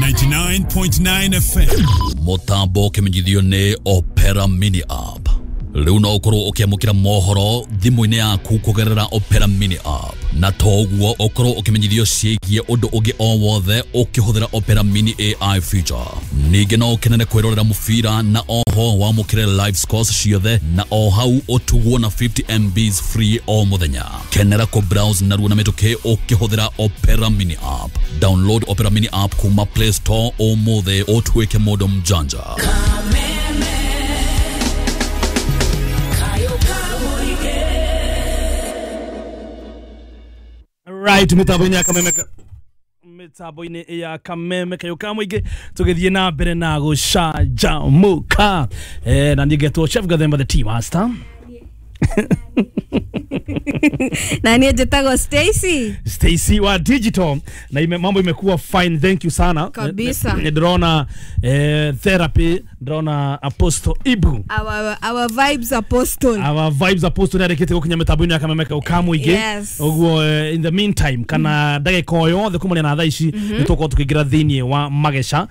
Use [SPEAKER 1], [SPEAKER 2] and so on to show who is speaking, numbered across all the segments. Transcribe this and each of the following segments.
[SPEAKER 1] 99.9 FM.
[SPEAKER 2] Mutambo ũkĩmenyithio nĩ Opera Mini App. Rĩu no ũkorwo ũkĩamũkĩra mohoro thimũ-inĩ yaku kũgerera Opera Mini App, na to ũguo ũkorwo ũkĩmenyithio ciĩgiĩ ũndũ ũngĩ o wothe ũkĩhũthĩra Opera Mini AI feature. Ningĩ no ũkenere kwĩrorera mũbira na oho wamũkĩre live scores ciothe na o hau ũtugwo na 50 MBs free o mũthenya. Kenera kũ browse narua na mĩtũkĩ ũkĩhũthĩra Opera Mini App. Download Opera Mini App kuma Play Store ũmũthĩ ũtuĩke mũndũ mjanja.
[SPEAKER 3] Right, mitambo-inĩ ya kameme mitambo-inĩ ya kameme kayo ka mũingĩ tũgĩthiĩ na mbere na gũcanjamũka, na niĩ ngetwo Chef Gathemba the tea master.
[SPEAKER 4] Na niĩ njĩtagwo Stacy.
[SPEAKER 3] Stacy wa digital na mambo imekuwa fine, thank you sana.
[SPEAKER 4] Kabisa.
[SPEAKER 3] Ndĩrona therapy, ndĩrona Apostle Ibu.
[SPEAKER 4] Our vibes apostle.
[SPEAKER 3] Our vibes apostle nĩarĩkĩtie gũkinya mĩtambo-inĩ ya kameme kau ka mũingĩ.
[SPEAKER 4] Yes.
[SPEAKER 3] Ũguo in the meantime kana ndagĩka o yothe kumania na thaa ici nĩ tũgũkorwo tũkĩingĩra thĩinĩ wa mageca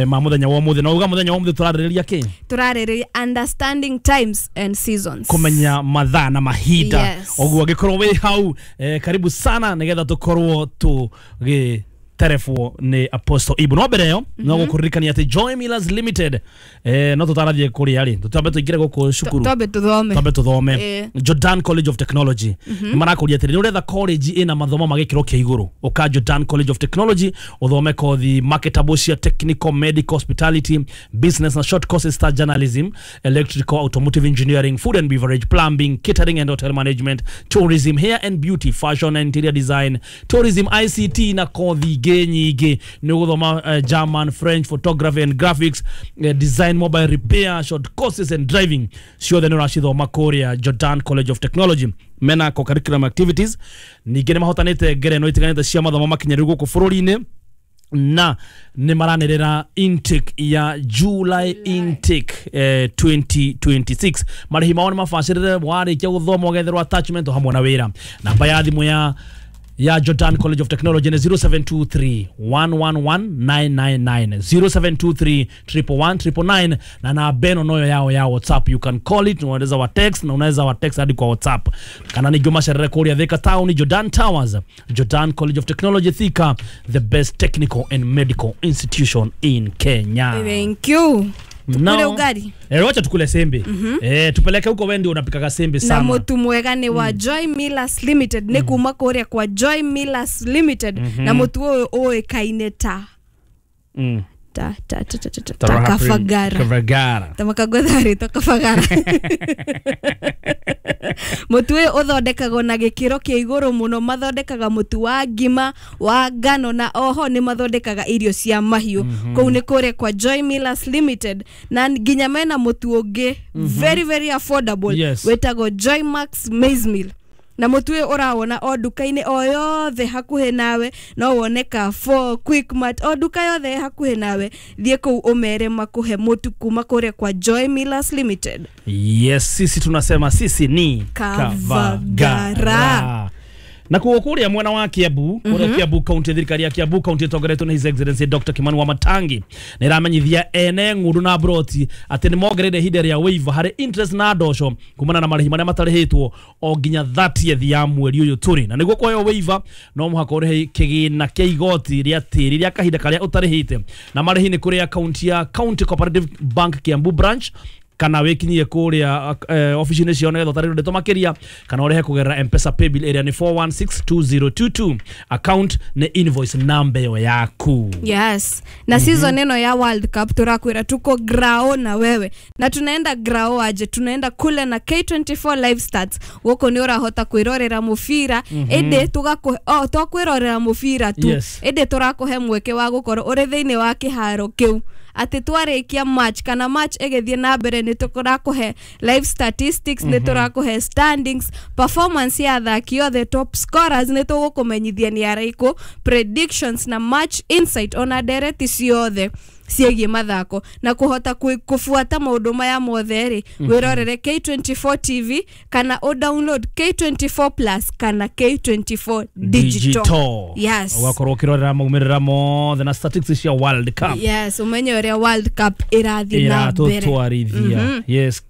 [SPEAKER 3] ma mũthenya wa ũmũthĩ, na uga mũthenya wa ũmũthĩ tũrarĩrĩria kĩ?
[SPEAKER 4] Tũrarĩrĩria understanding times and seasons.
[SPEAKER 3] Kũmenya mathaa na mahinda.
[SPEAKER 4] Yes.
[SPEAKER 3] Ũguo angĩkorwo wĩ hau, karibu sana nĩgetha tũkorwo tũgĩterebwo nĩ Apostle Ibu. No mbere ĩyo no gũkũririkania atĩ Joy Millers Limited, no tũtarathiĩ kũrĩa rĩ, tũtambe tũingĩre gũkũ cukuru.
[SPEAKER 4] Twambe tũthome.
[SPEAKER 3] Twambe tũthome. Jordan College of Technology nĩ marakũria atĩrĩ, nĩ ũretha college ĩna mathomo ma gĩkĩro kĩa igũrũ, ũka Jordan College of Technology ũthome kothi marketable cia technical, medical, hospitality, business na short courses ta journalism, electrical, automotive engineering, food and beverage, plumbing, catering and hotel management, tourism, hair and beauty, fashion and interior design, tourism, ICT na kothi ingĩ nyingĩ. Nĩ ũgũthoma German, French, photography and graphics, design, mobile repair, short courses and driving, ciothe nĩ ũracithoma kũrĩa Jordan College of Technology. Mena co-curriculum activities. Ningĩ nĩ mahotanĩte ngerenwa itiganĩte cia mathomo makinyanĩru gũkũ bũrũri-inĩ, na nĩ maranĩrĩra intake ya July intake 2026. Marĩhi mao nĩ mabacĩrĩre, warĩkia gũthoma ũgetherwo attachment o hamwe na wĩra. Namba ya thimũ ya Jordan College of Technology nĩ 0723 111 999, 0723 111 999, na namba ĩno noyo yao ya WhatsApp. You can call it na unaweza wa text, na unaweza wa text hadi kwa WhatsApp, kana ningĩ ũmacerere kũrĩa Thika Town, Jordan Towers. Jordan College of Technology Thika, the best technical and medical institution in Kenya.
[SPEAKER 4] Thank you. Tukule ugali.
[SPEAKER 3] Wacha tukule sembe. Tupeleke huko, wewe ndio unapikaga sembe
[SPEAKER 4] Na
[SPEAKER 3] sana.
[SPEAKER 4] Mũtu mwega nĩ wa Joy Millers Limited, nĩ kuma kũrĩa kwa Joy Millers Limited, na mũtu ũyũ ũĩkaine ta ta ta ta ta ta ta ta Kabagara.
[SPEAKER 3] Kabagara.
[SPEAKER 4] Ta makagwetha ta Kabagara. Mũtu ũyũ ũthondekagwo na gĩkĩro kĩa igũrũ mũno. Mathondekaga mũtu wa ngima, wa ngano, na oho nĩ mathondekaga irio cia mahiũ. Kũu nĩ kũrĩa kwa Joy Millers Limited, na nginya mena mũtu ũngĩ very very affordable wĩtagwo Joy Max Maize Meal. Na mũtu ũyũ ũrawona o nduka-inĩ o yothe hakuhĩ nawe, no wone Carrefour, Quickmart, o nduka yothe ĩ hakuhĩ nawe, thiĩ kũu ũmere makũhe mũtu kuma kũrĩa kwa Joy Millers Limited.
[SPEAKER 3] Yes, sisi tunasema sisi ni
[SPEAKER 4] Kavagara.
[SPEAKER 3] Na kuo kuria mwena wa Kiambu, kuria Kiambu County, thirikari ya Kiambu County ĩtongoretio nĩ His Excellency Dr. Kimani Wamatangi nĩ ĩramenyithia ene ng'ũndũ na broti atĩ nĩ mongereire ihinda rĩa waiver harĩ interest na ndosho kumana na marĩhi marĩa matarĩhĩtwo o nginya 30th ya mweri ũyũ tũrĩ. Na nĩguo kũheo waiver no mũhaka ũrĩhe kĩgĩna kĩa igoti rĩa tĩri rĩa kahinda karĩa ũtarĩhĩte, na marĩhi nĩ kũrĩ akaunti ya County Cooperative Bank Kiambu branch, kana wĩkinyie kũrĩa ofici-inĩ ciao nĩgetha ũtarĩrio ndeto makĩria, kana ũrĩhe kũgerera M-Pesa paybill ĩrĩa nĩ 4162022, account nĩ invoice namba ĩyo yaku.
[SPEAKER 4] Yes, na season ĩno ya World Cup tũrakwĩra tuko grao na wewe. Na tunaenda grao aje? Tunaenda kule na K24 live stats. Gũkũ nĩ ũrahota kwĩrorera mũbira, ĩndĩ tũgakũhe, oh, to kwĩrorera mũbira tu, ĩndĩ tũrakũhe mweke wa gũkorwo ũrĩ thĩinĩ wa kĩharo kĩu, atĩ twarĩkia match kana match ĩgĩthiĩ na mbere nĩ tũrakũhe live statistics, nĩ tũrakũhe standings, performance ya athaki othe, top scorers nĩ tũgũkũmenyithia nĩ arĩkũ, predictions na match insight, ona ndereti ciothe. ciĩgiĩ mathako na kũhota kũbuata maũndũ maya mothe rĩ, wĩrorere K24 TV kana o download K24 Plus kana K24 Digital. Yes.
[SPEAKER 3] Ũgakorwo ũkĩrorera maumĩrĩra mothe na statistics cia World Cup.
[SPEAKER 4] Yes, umenye ũrĩa World Cup ĩrathiĩ na mbere.
[SPEAKER 3] Ĩratũtwarithia. Yes.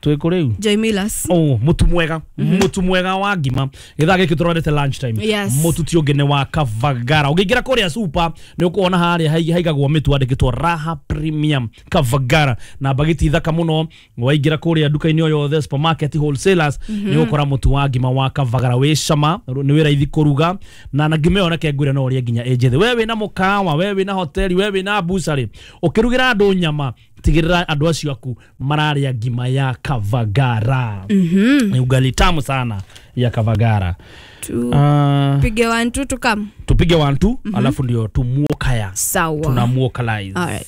[SPEAKER 3] Twĩkũ rĩu?
[SPEAKER 4] Joy Millers.
[SPEAKER 3] Oh, mutu mwega. Mutu mwega wa ngima. Githaa gĩkĩ tũrorete lunch time.
[SPEAKER 4] Yes.
[SPEAKER 3] Mutu ti ũngĩ nĩ wa Kavagara. Ũngĩingĩra kũrĩa super nĩ ũkuona harĩa haigagwo mĩtu andĩkĩtwo Raha Premium Kavagara na bagiti thaka mũno. Waingĩra kũrĩa nduka-inĩ o yothe, supermarket, wholesalers, nĩ ũgũkora mũtu wa ngima wa Kavagara wĩ cama, nĩ wĩ raithi kũruga na ngima ĩyo reke ngwĩre no ũrĩe nginya ĩ njĩthĩ. We wĩna mũkawa, we wĩna hoteli, we wĩna bucarĩ, ũkĩrugĩra andũ nyama, tigĩrĩra andũ acio aku mararĩa ngima ya Kavagara. Ni ugali tamu sana ya Kavagara.
[SPEAKER 4] Tupige 1 2 tukam.
[SPEAKER 3] Tupige 1 2 alafu ndio tumuokaya.
[SPEAKER 4] Sawa.
[SPEAKER 3] Tunamuokalize.
[SPEAKER 4] All right.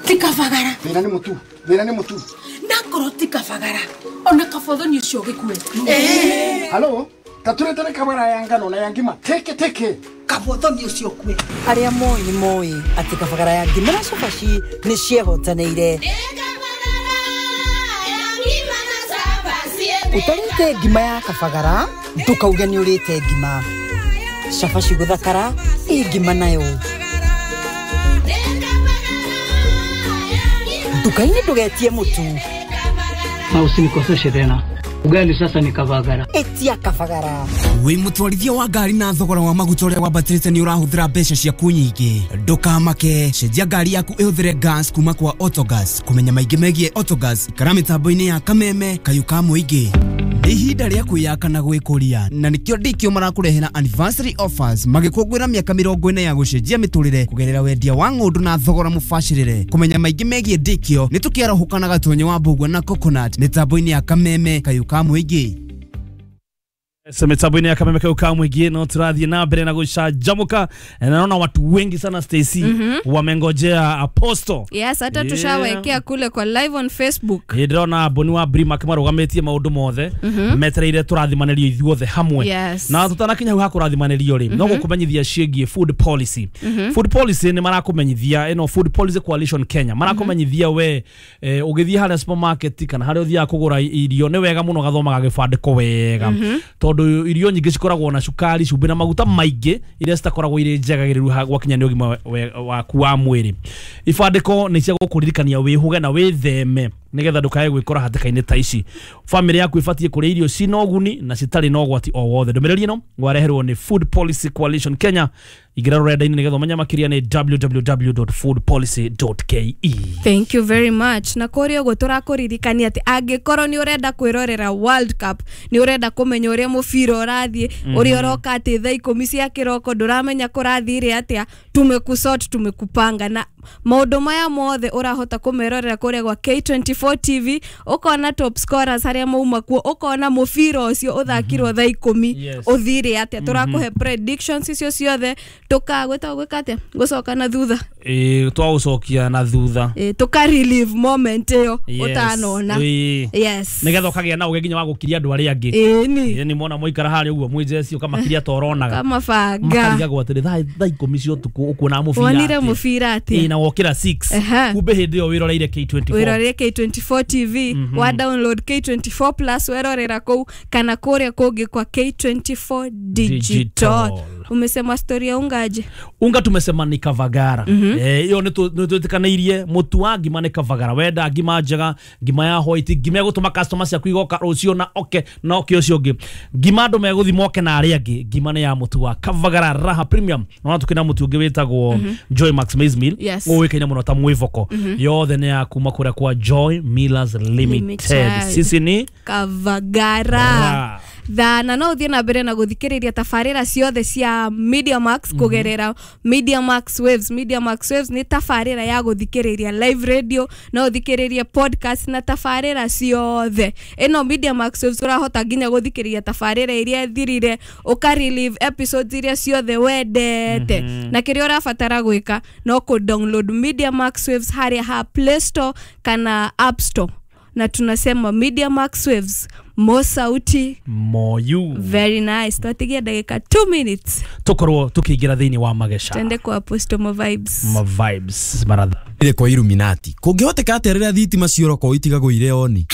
[SPEAKER 1] Tikavagara.
[SPEAKER 5] Thĩna nĩ mũtu. Thĩna nĩ mũtu.
[SPEAKER 1] Nakorwo tikavagara. Ona kabothoni ũcio gĩkue.
[SPEAKER 5] Halo? Taturetere kabara ya ngano na ya ngima. Teke teke.
[SPEAKER 1] Kabothoni ũcio kue.
[SPEAKER 6] Arĩa moĩ nĩ moĩ atĩ kabagara ya ngima na cabaci nĩ ciehotanĩire. Ũtarĩte ngima ya kabagara ndũkauge nĩ ũrĩte ngima. Cabaci gũthakara ĩ ngima nayo. Nduka-inĩ ndũgetie mũtu.
[SPEAKER 7] Na usinikoseshe tena. Ugali sasa ni Kavagara.
[SPEAKER 6] Etia Kavagara.
[SPEAKER 8] Wĩ mũtwarithia wa ngari na thogora wa maguta ũrĩa wambatĩrĩte nĩ ũrahũthĩra mbeca ciaku nyingĩ. Ndũkamake, cenjia ngari yaku ĩhũthĩre gas kuma kwa Autogas. Kũmenya maingĩ megiĩ Autogas, ikara mĩtambo-inĩ ya Kameme kayũ ka mũingĩ. Nĩ ihinda rĩa kwĩyaka na gwĩkũria na nĩkĩo Ndikio marakũrehera anniversary offers magĩkũngũĩra mĩaka 40 ya gũcenjia mĩtũrĩre kũgerera wendia wa ng'ũndũ na thogora mũbacĩrĩre. Kũmenya maingĩ megiĩ Ndikio nĩ tũkĩarahũka na Gatonyo wa Mbũgua na Coconut mĩtambo-inĩ ya Kameme kayũ ka mũingĩ.
[SPEAKER 3] Mitambo-inĩ ya Kameme kayũ ka mũingĩ no tũrathiĩ na mbere na gũcanjamũka. Na naona watu wengi sana Stacy wamengojea Apostle.
[SPEAKER 4] Yes, hata tushawekea kule kwa live on Facebook.
[SPEAKER 3] Ndĩrona Boni wa Brima kĩmarũgamĩtie maũndũ mothe metereire tũrathimanĩrio ithuothe hamwe.
[SPEAKER 4] Yes.
[SPEAKER 3] Na tũtanakinya hau ha kũrathimanĩrio rĩ, no gũkũmenyithia ciĩgiĩ food policy. Food policy nĩ marakũmenyithia ĩno Food Policy Coalition Kenya marakũmenyithia we ũgĩthiĩ harĩa supermarket kana harĩa ũthiaga kũgũra irio nĩ wega mũno gathomaga gĩbandĩko wega. Tondũ irio nyingĩ cikoragwo na cukari, cumbĩ na maguta maingĩ iria citakoragwo irĩ njega gĩrĩru gwakinya nĩ ũgima waku wa mwĩrĩ. Ibandĩko nĩ cia gũkũririkania wĩhũge na wĩtheme nĩgetha ndũkae gwĩkora hatĩka-inĩ ta ici. Bamĩrĩ yaku ĩbatiĩ kũrĩa irio cina ũguni na citarĩ na ũgwati o wothe. Ndũmĩrĩri ĩno wareherwo nĩ Food Policy Coalition Kenya. Ingĩra rũrenda-inĩ nĩgetha ũmenye makĩria nĩ www.foodpolicy.ke.
[SPEAKER 4] Thank you very much. Na kũrĩa ũguo tũrakũririkania atĩ angĩkorwo nĩ ũrenda kwĩrorera World Cup, nĩ ũrenda kũmenya ũrĩa mũbira ũrathiĩ, ũrĩa ũroka atĩ thaa 10 cia kĩroko ndũramenya kũrathire atĩa, tumekusort tumekupanga na maũndũ maya mothe ũrahota kũmerorera kũrĩa gwa K24 TV, ũkona top scorers arĩa mauma kuo, ũkona mũbira ũcio ũthakirwo thaa 10 ũthire atĩa, tũrakũhe predictions icio ciothe, tũkagwĩta gwĩka atĩa, gũcoka na thutha,
[SPEAKER 3] twagũcokia na thutha,
[SPEAKER 4] tũka relive moment ĩyo ũtanona. Yes,
[SPEAKER 3] nĩgetha ũkagĩa na ũgĩ nginya wa gũkiria andũ arĩa angĩ. Ĩni mona mũikara harĩa ũguo mwĩ ũkamakiria ta ũronaga
[SPEAKER 4] kamabanga,
[SPEAKER 3] makarigagwo atĩrĩ thaa 10 cia ũtukũ ũkuona mũbira,
[SPEAKER 4] wonire mũbira atĩa
[SPEAKER 3] na wokĩra 6 kumbe hĩndĩ ĩyo wĩroreire K24,
[SPEAKER 4] wĩroreire K24 TV, wa download K24 Plus werorera kũu kana kũrĩa kũngĩ kwa K24 Digital. Umesema story ya unga aje?
[SPEAKER 3] Unga tumesema ni Kavagara. Iyo nĩ twĩtĩkanĩirie mũtu wa ngima nĩ Kavagara. Wenda ngima njega, ngima ya white, ngima ya gũtũma customers ciaku igoka rũciũ na oke na oke ũcio ũngĩ. Ngima andũ megũthiĩ moke na arĩa angĩ. Ngima nĩ ya mũtu wa Kavagara Raha Premium. Na tukĩna mũtu ũngĩ wĩtagwo Joy Max Maize Meal. Ũĩkaine mũno ta mwĩvoko. Yothe nĩ ya kuma kũrĩa kwa Joy Millers Limited. Sisi ni
[SPEAKER 4] Kavagara. Na no ũthiĩ na mbere na gũthikĩrĩria tabarĩra ciothe cia Media Max kũgerera Media Max Waves. Media Max Waves nĩ tabarĩra ya gũthikĩrĩria live radio, no ũthikĩrĩrie podcast na tabarĩra ciothe. Ĩno Media Max Waves ũrahota nginya gũthikĩrĩria tabarĩra iria thirire, ũka relive episodes iria ciothe wendete. Na kĩrĩa ũrabatara gwĩka no kũ download Media Max Waves harĩa ha Play Store kana App Store. Na tunasema Media Max Waves, More sauti,
[SPEAKER 3] more you.
[SPEAKER 4] Very nice. Twatigia ndagika 2 minutes
[SPEAKER 3] tukorwo tukiingira thiini wa mageca,
[SPEAKER 4] twende kwa Apostle mo vibes,
[SPEAKER 3] ma vibes maratha
[SPEAKER 8] ile kwa Illuminati kungihoteka atia riria thitima cioroko itigagwo ire oni.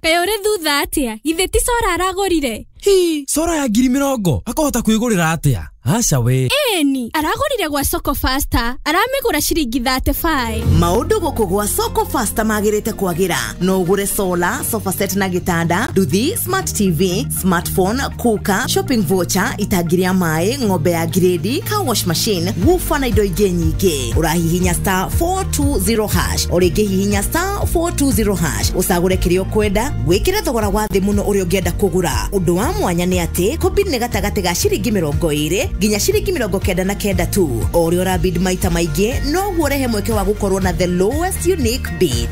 [SPEAKER 9] Kaĩ ũrĩ thutha atĩa? Githĩ ti Sora aragũrire?
[SPEAKER 8] Hi, Sora ya 20,000 akahota kwĩgũrĩra atĩa? Aca we.
[SPEAKER 9] Ĩni, aragũrire gwa Soko Faster, aramĩgũra ciringi 35.
[SPEAKER 10] Maũndũ gũkũ gwa Soko Faster magĩrĩte kwagĩra. No ũgũre solar, sofa set na gĩtanda, nduthi, smart TV, smartphone, cooker, shopping voucher, itangi rĩa maĩ, ng'ombe ya grade, car wash machine, woofer na indo ingĩ nyingĩ. Ũrahihinya star 420 hash, o rĩngĩ hihinya star 420 hash, ũcagũre kĩrĩa ũkwenda, wĩkĩre thogora wa thĩ mũno ũrĩa ũngĩenda kũgũra. Ũndũ wa mwanya nĩ atĩ kũbid nĩ gatagatĩ ga ciringi 20 nginya ciringi 99 tu. O ũrĩa ũrabid maita maingĩ noguo ũrehe mweke wa gũkorwo na the lowest unique bid.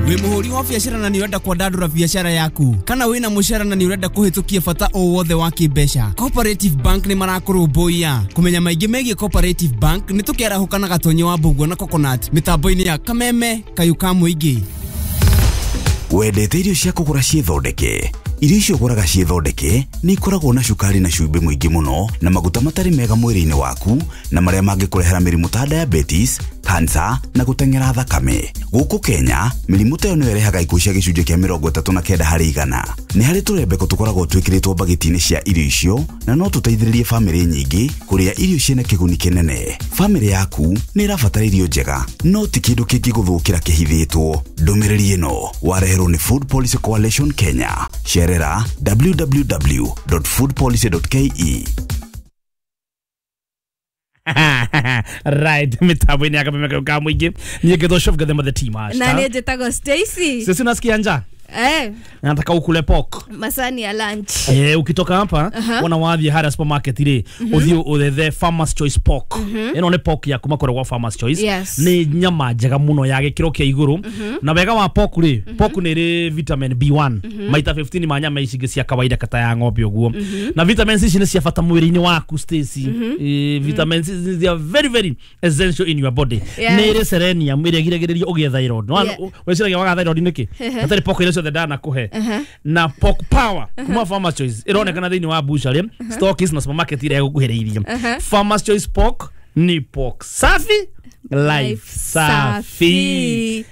[SPEAKER 8] Wĩ mũhũri wa biacara na nĩ ũrenda kwandandũra biacara yaku, kana wĩna mũcara na nĩ ũrenda kũhĩtũkia bata o wothe wa kĩmbeca, Cooperative Bank nĩ marakũrũmbũiya. Kũmenya maingĩ megiĩ Cooperative Bank nĩ tũkĩarahũka na Gatonye wa Mbũguo na Coconut mĩtambo-inĩ ya Kameme Kayũ ka Mũingĩ.
[SPEAKER 11] Wendete irio cia kũgũra ciĩthondeke? Irio icio ũgũraga ciĩthondeke nĩ ikoragwo na cukari na cumbĩ mũingĩ mũno na maguta matarĩ mega mwĩrĩ-inĩ waku, na marĩa mangĩkũrehera mĩrimũ ta diabetes, cancer na gũteng'era thakame. Gũkũ Kenya, mĩrimũ ta ĩyo nĩyo ĩrehaga ikuũ cia gĩcunjĩ kĩa 39 harĩ igana. Nĩ harĩ tũrembeko tũkoragwo twĩkĩrĩtwo mbagiti-inĩ cia irio icio na no tũteithĩrĩrie bamĩrĩ nyingĩ kũrĩa irio ciĩna kĩguni kĩnene. Bamĩrĩ yaku nĩ ĩrabatara irio njega, no ti kĩndũ kĩngĩgũthũkĩra kĩhithĩtwo. Ndũmĩrĩri ĩno wareherwo nĩ Food Policy Coalition Kenya. Cerera www.foodpolicy.ke.
[SPEAKER 3] Right, mitambo-inĩ ya Kameme ka Mũingĩ. Niĩ ngĩtwo Chef Gathema the team
[SPEAKER 4] na niĩ njĩtagwo Stacy.
[SPEAKER 3] Sisi unasikia njaa? Nataka ukule pork.
[SPEAKER 4] Masani ya lunch.
[SPEAKER 3] Ukitoka hapa wana wathiĩ harĩa supermarket rĩ, ũthiĩ ũthethe Farmers Choice pork. Ĩno nĩ pork ya kuma kũrĩa gwa Farmers Choice.
[SPEAKER 4] Yes.
[SPEAKER 3] Nĩ nyama njega mũno ya gĩkĩro kĩa igũrũ. Na wega wa pork rĩ, pork nĩ ĩrĩ vitamin B1 maita 15 ma nyama ici ingĩ cia kawaida kata ya ng'ombe ũguo. Na vitamins ici nĩ cia bata mwĩrĩ-inĩ waku Stacy. Vitamins they are very very essential in your body. Nĩ ĩrĩ selenium ĩrĩa ĩgiragĩrĩria ũgĩe thyroid. Wĩciragia waga thyroid nĩkĩ? Hatarĩ pork iria ciothe ndanakuhe. Na pork power kuma Farmers Choice ironekana thĩinĩ wa butchery, stockies na supermarket iria ĩgũkuhĩrĩirie. Farmers Choice pork ni pork safi, life safi.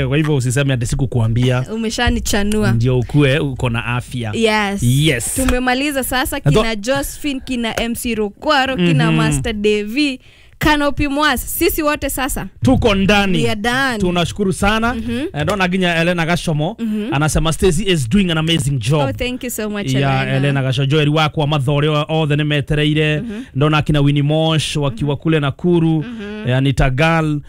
[SPEAKER 3] Kwa hivyo usiseme ati sikukuambia.
[SPEAKER 4] Umeshanichanua.
[SPEAKER 3] Ndio ukue uko na afya.
[SPEAKER 4] Yes.
[SPEAKER 3] Yes.
[SPEAKER 4] Tumemaliza sasa kina Josephine, kina MC Rukwaro, kina Master Devi, Kanopi Mwas, sisi wote sasa
[SPEAKER 3] tuko ndani.
[SPEAKER 4] Tunashukuru
[SPEAKER 3] sana. Ndona nginya Elena Gashomo anasema Stacy is doing an amazing job.
[SPEAKER 4] Oh, thank you so much.
[SPEAKER 3] Yeah, Elena Gasho Joel wakwa mathore othe nĩ metereire. Ndona kina Winnie Mosh wakiwa kule Nakuru, Anita Gal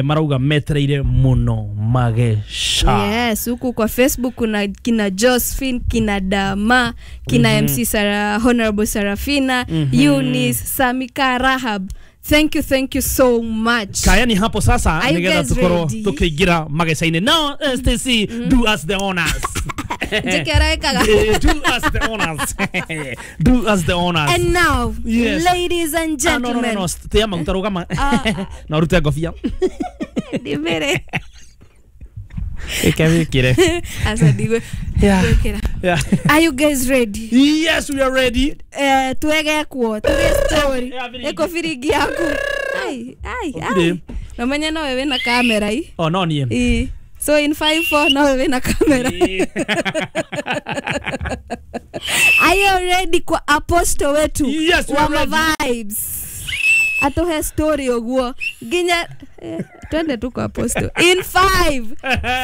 [SPEAKER 3] marauga metereire muno magesha.
[SPEAKER 4] Yes, huku kwa Facebook kuna kina Josephine, kina Dama, kina MC Sarah, Honorable Sarafina, Eunice, Samika, Rahab. Thank you so much.
[SPEAKER 3] Kayani hapo sasa nigetha tukorwo tukiingira mageca-inĩ. Now Stacy, do us the honors. Do us the honors. Do us the honors.
[SPEAKER 4] And now,
[SPEAKER 3] yes,
[SPEAKER 4] ladies and gentlemen.
[SPEAKER 3] No. Tia maguta rugama. Na urute ngobia.
[SPEAKER 4] Ndimere.
[SPEAKER 3] Ike
[SPEAKER 4] Asa digwe.
[SPEAKER 3] Yeah. Yeah.
[SPEAKER 4] Are you guys ready?
[SPEAKER 3] Yes, we are ready.
[SPEAKER 4] Tuwege kuo, tuge story. Eko firigi yaku. Ai, ai, ai. Na mwenye no wewe na kamera hii.
[SPEAKER 3] Oh, no nie.
[SPEAKER 4] So in 5 4 no wewe na kamera. Are you ready kwa apostle wetu?
[SPEAKER 3] Yes, we are ready.
[SPEAKER 4] Vibes. Atohe story oguo. Ginya twende tu kwa apostle. In 5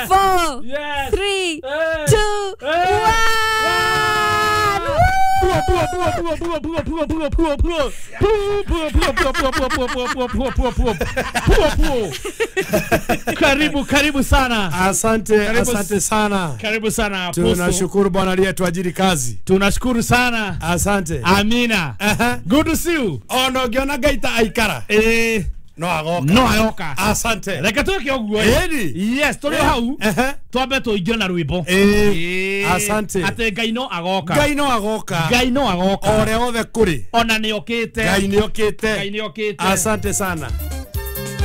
[SPEAKER 4] 4
[SPEAKER 3] yes,
[SPEAKER 4] 3 2 1.
[SPEAKER 3] Karibu, karibu sana.
[SPEAKER 12] Asante, asante sana.
[SPEAKER 3] Karibu sana apostle.
[SPEAKER 12] Tunashukuru Bwana aliyetuajiri kazi.
[SPEAKER 3] Tunashukuru sana.
[SPEAKER 12] Asante.
[SPEAKER 3] Amina. Good to see you.
[SPEAKER 12] Ono giona gaita aikara. No agoka.
[SPEAKER 3] No agoka.
[SPEAKER 12] Asante.
[SPEAKER 3] Reke tweke oguo. Yes, turi hau. Twambe tuingire na rwimbo.
[SPEAKER 12] Asante.
[SPEAKER 3] Ate Ngai no agoka.
[SPEAKER 12] Ngai no agoka.
[SPEAKER 3] Ngai no agoka.
[SPEAKER 12] Ore othe kuri.
[SPEAKER 3] Ona nĩokĩte.
[SPEAKER 12] Ngai nĩokĩte.
[SPEAKER 3] Ngai nĩokĩte.
[SPEAKER 12] Asante sana.